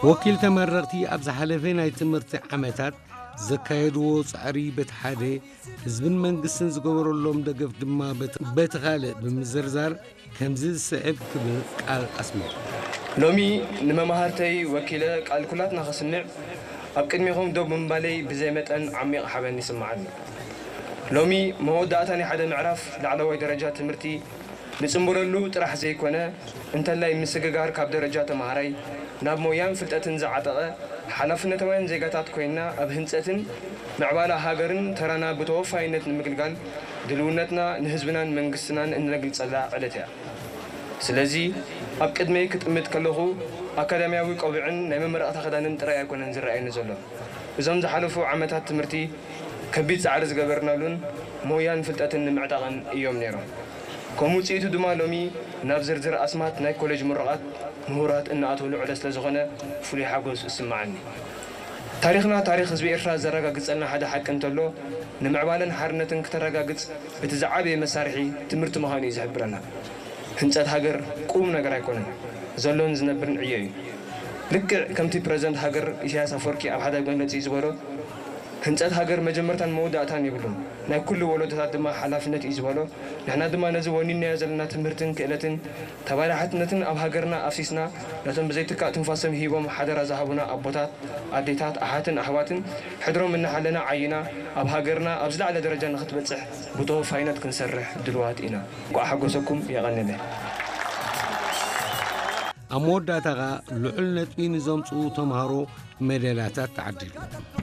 ወኪል ተመረቕቲ ኣብ ዝሓለፈ ናይ ትምህርቲ ዓመታት ዘካየድዎ ጻዕሪ በቲ ሓደ፣ ህዝብን መንግስትን ዝገበረሎም ደገፍ ድማ በቲ ካልእ ብምዝርዛር ከምዚ ዝስዕብ ክብል ቃል ኣስሚዑ። ሎሚ ንመማህርተይ ወኪለ ቃል ኩላትና ከስምዕ ኣብ ቅድሜኹም ደው ብምባለይ ብዘይ መጠን ዓሚቕ ሓበን ይስምዓኒ። ሎሚ መወዳእታ ናይ ሓደ ምዕራፍ ላዕለዋይ ደረጃ ትምህርቲ ንጽንበለሉ ጥራሕ ዘይኮነ፣ እንተላይ ምስግጋር ካብ ደረጃ ተማሃራይ ናብ ሞያን ፍልጠትን ዝዓጠቐ ሓላፍነታውያን ዜጋታት ኮይንና ኣብ ህንጸትን ምዕባላ ሃገርን ተራና ብተወፋይነት ንምግልጋል ድልውነትና ንህዝብናን መንግስትናን እነግልጸላ ዕለት እያ። ስለዚ ኣብ ቅድመይ ክጥምት ከለኹ ኣካዳሚያዊ ቆቢዕን ናይ መመረቕታ ክዳንን ጥራይ ኣይኮነን ዝረኣየኒ ዘሎ። እዞም ዝሓለፉ ዓመታት ትምህርቲ ከቢድ ጻዕሪ ዝገበርናሉን ሞያን ፍልጠትን ንምዕጣቕን እዮም ነይሮም። ከም ውጽኢቱ ድማ ሎሚ ናብ ዝርዝር ኣስማት ናይ ኮሌጅ ምሩቓት ምሁራት እንኣትወሉ ዕለት ስለዝኾነ ፍሉይ ሓጎስ እስምዓኒ። ታሪኽና ታሪኽ ህዝቢ ኤርትራ ዘረጋግጸልና ሓደ ሓቂ እንተሎ ንምዕባለን ሓርነትን ክተረጋግጽ እቲ ዝዓበየ መሳርሒ ትምህርቲ ምዃኑ እዩ ዝሕብረና። ህንጸት ሃገር ቁም ነገር ኣይኮነን፣ ዘሎን ዝነብርን ዕዮ እዩ። ልክዕ ከምቲ ፕረዚደንት ሃገር ኢሳያስ ኣፈወርቂ ኣብ ሓደ መግለጺኡ ዝበሎ፣ ህንጸት ሃገር መጀመርታን መወዳእታን የብሉን፣ ናይ ኩሉ ወለዶታት ድማ ሓላፍነት እዩ ዝበሎ፣ ንሕና ድማ ነዚ ወኒንናዮ ዘለና ትምህርትን ክእለትን ተባላሓትነትን ኣብ ሃገርና ኣፍሲስና ነቶም ብዘይትካእ ትንፋሶም ሂቦም ሓደራ ዝሃቡና ኣቦታት፣ ኣዴታት፣ ኣሓትን ኣሕዋትን ሕድሮም እናሓለና ዓይና ኣብ ሃገርና ኣብ ዝለዓለ ደረጃ ንክትበጽሕ ብተወፋይነት ክንሰርሕ ድልዋት ኢና። እንቋዕ ሓጎሰኩም። የቐንየለይ። ኣብ መወዳእታ ኸኣ ልዑል ነጥቢ ንዘምጽኡ ተምሃሮ ሜዳልያታት ተዓዲሉ።